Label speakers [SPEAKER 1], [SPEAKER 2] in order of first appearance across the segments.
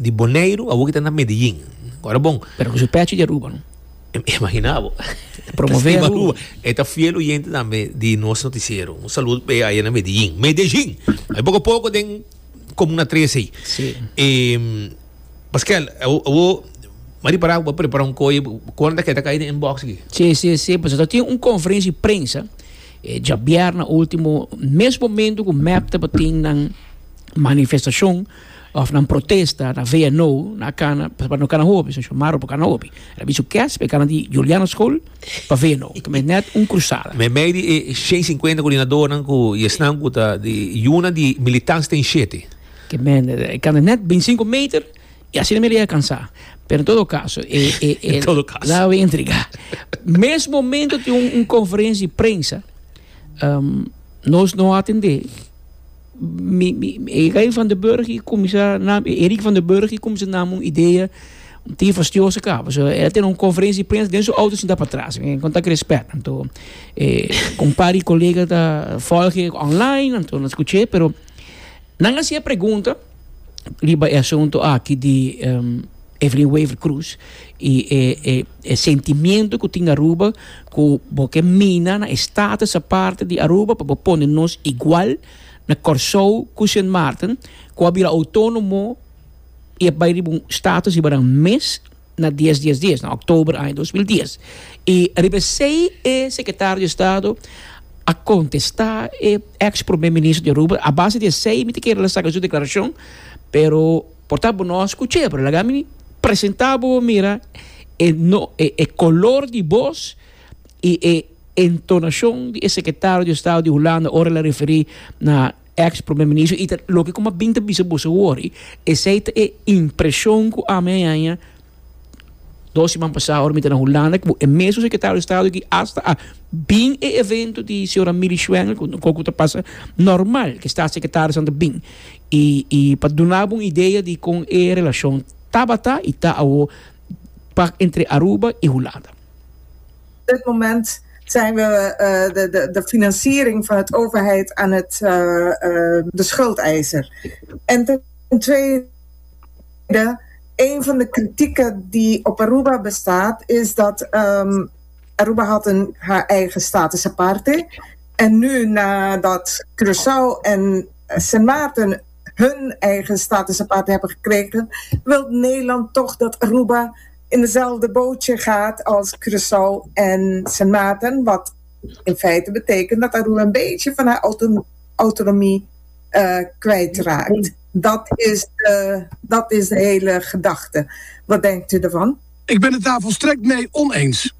[SPEAKER 1] Di Boneiru awor ki ta na Medellin. Ora bon.
[SPEAKER 2] Pero ku su pechi di Aruba, no?
[SPEAKER 1] Imagina bo.
[SPEAKER 2] Promove Aruba.
[SPEAKER 1] E ta fiel oyente tambe di nos noticiero. Un saludo p'e aya na Medellin. Medellin! Ay poko poko den Comuna 3 ei.
[SPEAKER 2] Sí.
[SPEAKER 1] Pascal, awor m'a ripará ku bo a prepara un koe kon ta keda kai den inbox aki.
[SPEAKER 2] Sí, sí, sí. Pasobra ta tin un konferensia di prensa djabièrnè último, mes momento ku mep tabatin nan manifestashon òf nan protesta na VNO na kana, pasobra no kana hopi, so Xiomara por kana hopi. El a bisu kes pa e kana di Juliana School pa VNO, ta mes nèt un krusada.
[SPEAKER 1] Meimei di e 150 koordinadornan ku i esnan ku ta di yuna di militans ten shete.
[SPEAKER 2] Ke men e kana nèt 25 meter i asina mi a yega kansá. Pero en todo kaso e e e
[SPEAKER 1] En todo kaso.
[SPEAKER 2] La wi entregá. Mes momento tin un un konferensia di prensa, nos no a atendé. Mi mi Eric van der Burg i kuminsá na Eric van der Burg i kuminsá nam un idea un tin fastioso kaba. So el a tene un konferensia di prensa den su outo sinta patras. Mi konta ku respèt. Anto e un par di kolega ta volg e online anto nan skuch'é pero nan a hasi e pregunta riba e asunto aki di Evelyn Wever Croes y e e e sentimiento cu tin Aruba cu bo ke mina na e status aparte di Aruba pa bo pone nos igual na Corsou cu Sint Maarten cu a bira autonomo y a bay riba un status riba nan mes na dies dies dies na october aña 2010 y riba esey e secretario di estado a contesta e ex prome minister di Aruba a base di esey mi ta kere la saca su declaracion pero Por ta bo no a skuch'é, pero laga mi presentá bo mira e no e e kolor di bos i e entonashon di e sekretario di estado di Hulanda ora el a referí na eks prome minister i ta loke ku mi a bin ta bisa boso awor i esei ta e impreshon ku ami a haña. Dos siman pasá ora mi ta na Hulanda ku e mesun sekretario di estado aki asta a bin e evento di señora Milly Schwengle ku un kos ku ta pasa normal ku e staatssecretarisnan ta bin i i pa duna bo un idea di kon e relashon tabata i ta awo pa entre Aruba i Hulanda.
[SPEAKER 3] Op dit moment zijn we de de de financiering van het overheid aan het de schuldeiser. En ten tweede Een van de kritieken die op Aruba bestaat is dat um, Aruba had een, haar eigen status aparte. En nu nadat Curaçao en Sint Maarten hun eigen status aparte hebben gekregen, wil Nederland toch dat Aruba in dezelfde bootje gaat als Curaçao en Sint Maarten. Wat in feite betekent dat Aruba een beetje van haar autonomie uh, kwijtraakt. Dat is, de, dat is de hele gedachte. Wat denkt u ervan?
[SPEAKER 4] Ik ben het daar volstrekt mee oneens.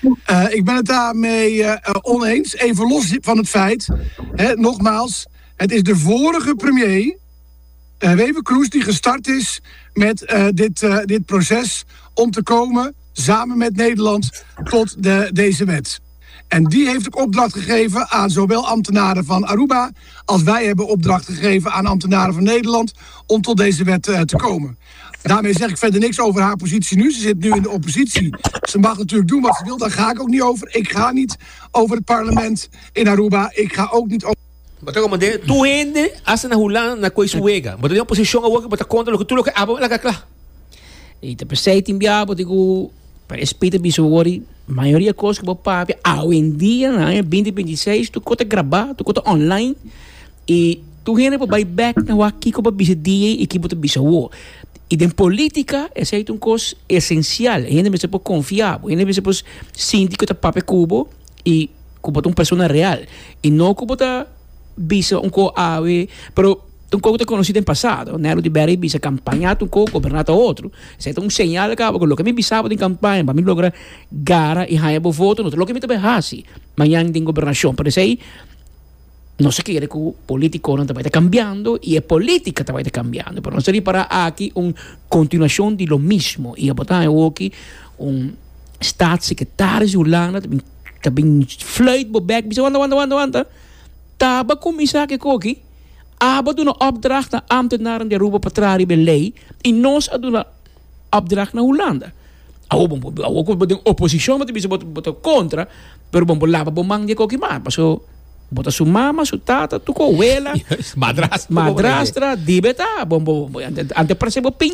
[SPEAKER 4] Uh, ik ben het daarmee uh, oneens. Even los van het feit, hè, nogmaals, het is de vorige premier, uh, Wever Kroes, die gestart is met dit, dit proces om te komen, samen met Nederland, tot de, deze wet. En die heeft ook opdracht gegeven aan zowel ambtenaren van Aruba als wij hebben opdracht gegeven aan ambtenaren van Nederland om tot deze wet uh, te komen. Daarmee zeg ik verder niks over haar positie nu. Ze zit nu in de oppositie. Ze mag natuurlijk doen wat ze wil. Daar ga ik ook niet over. Ik ga niet over het parlement in Aruba. Ik ga ook niet over.
[SPEAKER 1] Bo ta komand'é tur hende hasta na Hulanda na koe su wega. Bo ta den oposishon awor ku bo ta kontra loke tur loke abo laga kla.
[SPEAKER 2] I ta p'esei tin bia bo tin ku pa e spita bisa awor i mayoria kos ku bo papia awendia na aña binti binti seis tur kos ta grabá tur kos ta online i tur hende por bai bèk na wak kiko bo a bisa dia i kiko bo ta bisa awor. I den politika esei ta un kos esensial hende mester por konfia bo hende mester por sinti ku ta papia ku bo i ku bo ta un persona real i no ku bo ta bisa un ko awe pero un ko ku ta konosí den pasado Nelo di Berry bisa kampaña ta un ko goberná ta otro esei ta un señal kaba ku loke mi bisa bo den kampaña pa mi logra gara i haña bo voto no ta loke mi ta bai hasi mañan den gobernashon pero esei nos a kere ku politikonan ta bai ta kambiando i e politika ta bai ta kambiando pero nos ta ripará aki un kontinuashon di lo mismo i abo ta haña awoki un Staatssecretaris di Hulanda ta bin ta bin fluit bo bek bisa wanta wanta wanta wanta taba kuminsá ke koki abo a duna opdracht na ambtenaren di Aruba pa traha riba e lei i nos a duna opdracht na Hulanda awor bo awor ku bo den oposishon bo ta bisa bo ta kontra pero bo por laba bo man di e koki mas paso bo ta su mama su tata tur ku wela
[SPEAKER 1] Madrastra
[SPEAKER 2] madrastra dibe ta bo bo ante parse bo pinta.